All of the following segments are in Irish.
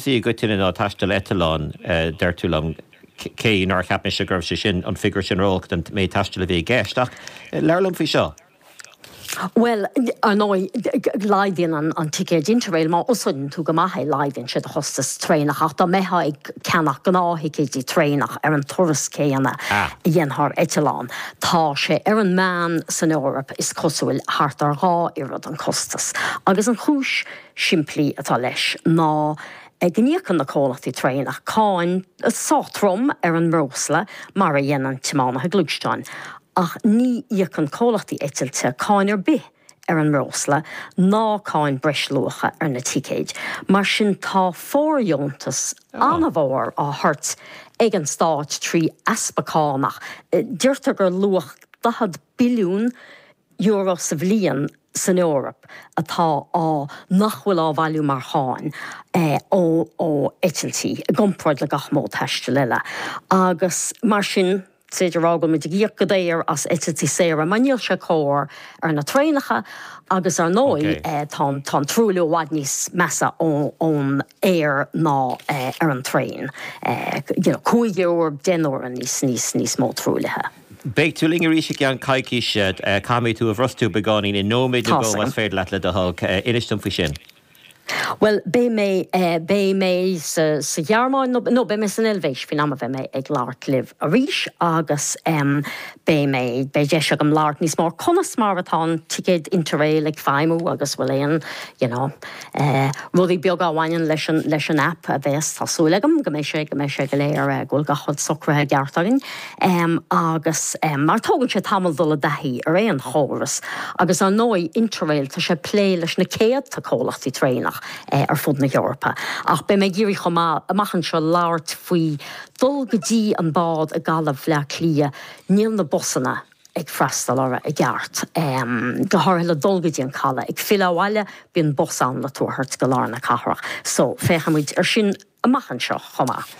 i gcoitinne ná taisteal eitleáin, deir tú liom, cé nár cheap mise go raibh sé sin, an figiúr sin ró-olc don méid taistil a bhí i gceist. Ach labhair liom faoi seo. Bhuel, ar ndóigh, laghdaíonn an ticéad Interrail, má úsáideann tú go maith é, laghdaíonn sé do chostas traenach. Ach dá mbeifeá ag ceannach gnáth-thicéidí traenach ar an turas céanna a dhéanfá ar eitleán, tá sé ar an meán san Eoraip, is cosúil, thart ar dhá oiread an costas. Agus an chúis shimplí atá leis ná go n-íocann na comhlachtaí traenach cáin sách trom ar an mbreosla, mar a dhéanann tiománaithe gluaisteáin, ach ní íocann comhlachtaí eitilte cáin ar bith ar an mbreosla ná cáin breisluacha ar na ticéid. Mar sin tá fóirdheontas an-mhór á thabhairt ag an stát trí easpa cánach. Deirtear gur luach €40 billiún sa bhliain san Eoraip atá á nach bhfuil á bhailiú mar cháin ó eitiltí i gcomparáid le gach modh taistil eile agus mar sin is féidir a rá go bhfuil muid ag íoc go daor as eitiltí saora mar níl sé cóir ar na traenacha agus ar ndóigh tá an truailliú i bhfad níos measa ón aer ná ar an traein, you know 5 uair, 10 n-uaire níos níos níos mó truaillithe. Beidh tú linn arís i gceann coicíse. Caithfidh mé tú a bhrostú beagáinín i nóiméad nó dhó más féidir leat le do thoil. Inis dom faoi sin. Bhuel, beidh mé, beidh mé sa, sa Ghearmáin nó, no, beidh mé san Eilvéis faoin am a bheidh mé ag labhairt libh arís agus em beidh mé, beidh deis agam labhairt níos mó ar conas mar atá an ticéad Interrail ag feidhmiú agus bhfuil aon, you know, Rudaí beaga a bhaineann leis an leis an aip a bheas, tá súil agam go mbeidh sé, go mbeidh sé go léir, go bhfuil gach rud socraithe i gceart againn. Agus mar tógann sé tamall dul i dtaithí ar aon chóras agus ar ndóigh Interrail, tá sé ag plé leis na céadta comhlachtaí traenach ar fud na hEorpa. Ach beidh mé ag iarraidh chomh maith amach anseo labhairt faoi dul go dtí an bád i gCaladh Bhaile Átha Cliath, níl na busanna, ag freastal orthu i gceart, go háirithe le dul go dtí an caladh. Ag filleadh abhaile, bíonn bus ann le tú a thabhairt go lár na cathrach. So, féachfaidh muid ar sin amach anseo chomh maith.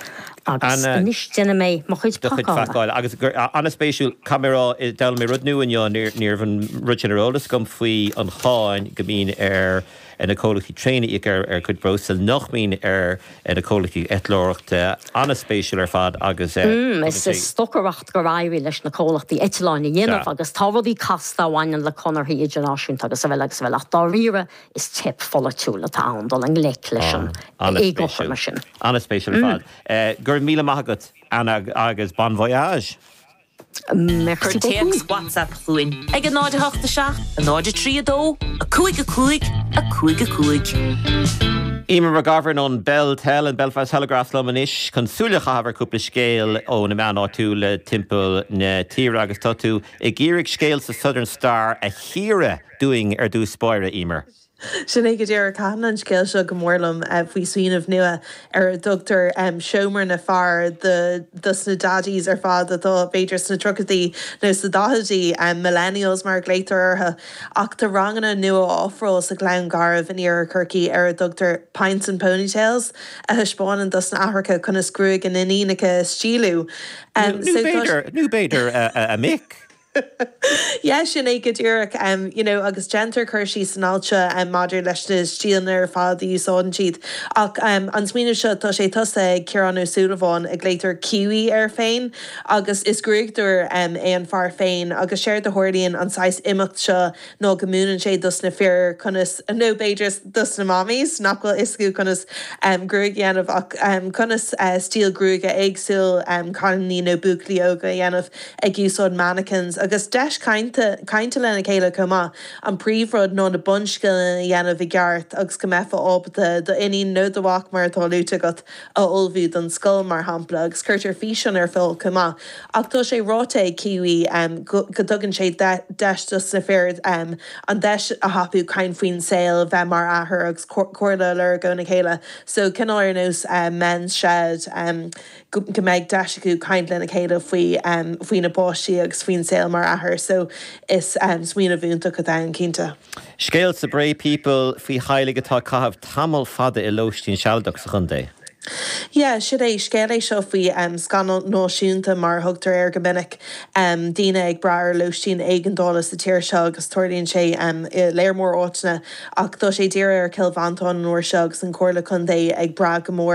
Agus Anna, anois déanfaidh mé mo chuid do chuid pacála. pacála. Agus gur, an-spéisiúil, caithfidh mé a rá, d'fhoghlaim mé rud nua inniu, ní raibh an rud sin ar eolas agam faoi an cháin go mbíonn ar na comhlachtaí traein a íoc ar a gcuid breosla, nach mbíonn ar na comhlachtaí eitleoireachta. An-spéisiúil ar fad agus tugann Is sé. stocaireacht gur éirigh leis na comhlachtaí eitleáin a dhéanamh agus tá rudaí casta a bhaineann le conarthaí idirnáisiúnta agus araile agus araile ach dáiríre is teip pholaitiúil atá ann dul i ngleic leis an éagothroime sin. An-spéisiúil ar fad. Go raibh míle maith agat Anna agus bon voyage! Merci Cuir téacs beaucoup. WhatsApp chugainn ag 0 8 7 0 3 2 5 5 5 5. Eimear McGovern ón Beltel, an Belfast Telegraph liom anois chun súil a chaitheamh ar chúpla scéal ó na meáin áitiúla timpeall na tíre agus tá tú ag iarraidh scéal sa Southern Star a chíoradh dúinn ar dtús báire, Eimear. Sin é go díreach. Thaitin an scéal seo go mór liom faoi smaoineamh nua ar a dtugtar Seomra na Fear dos na daddies ar fad atá b'fhéidir sna tríochaidí nó sna daichidí, millennials mar a ghlaotar orthu. Ach tá ranganna nua á ofráil sa Ghleann Garbh in iarthar Chorcaí ar a dtugtar Pints and Ponytails a thaispeánann dos na aithreacha conas gruaig a n-iníonacha a stíliú. Nó b'fhéidir a mic. Yeah, sin é go díreach. You know, agus déantar cur síos san alt seo maidir leis na stíleanna ar fad a úsáideann siad. Ach an smaoineamh seo, tá sé tosaithe ag Ciarán Ó Súilleabháin, a glaotar Kiwi air féin, agus is gruaigeadóir é an fear féin. Agus séard a tharlaíonn an saghas imeacht seo ná go múineann sé dos na fir conas, nó b'fhéidir dos na mammies nach bhfuil fhios acu conas gruaig a dhéanamh ach conas stíl gruaige éagsúil cailíní nó buachaillí óga a dhéanamh ag úsáid mannequins agus deis cainte cainte lena chéile chomh maith. An príomhrud ná na bunscileanna a dhéanamh i gceart agus go mbeifeá ábalta do iníon nó do mhac mar atá luaite agat a ullmhú don scoil, mar shampla, agus cuirtear físeán ar fáil chomh maith. Ach tá sé ráite ag Kiwi go dtugann sé deis dos na fir an deis a thapú caint faoin saol, bheith mar athair agus comhairle a lorg óna chéile. So cineál ar nós Men's Shed, go mbeidh deis acu caint lena chéile faoi faoi na páistí agus faoin saol mar athair. So is smaoineamh iontach atá ann, cinnte. Scéal sa Bray People faoi theaghlaigh atá ag caitheamh tamall fada i lóistín sealadach sa chontae. Yeah, sin é. Scéal é seo faoi scannal náisiúnta, mar a thugtar air go minic, daoine ag brath ar lóistín éigeandála sa tír seo agus tarlaíonn sé i léar mór áiteanna ach tá sé dírithe ar Chill Mhantáin an uair seo agus an Chomhairle Contae ag brath go mór.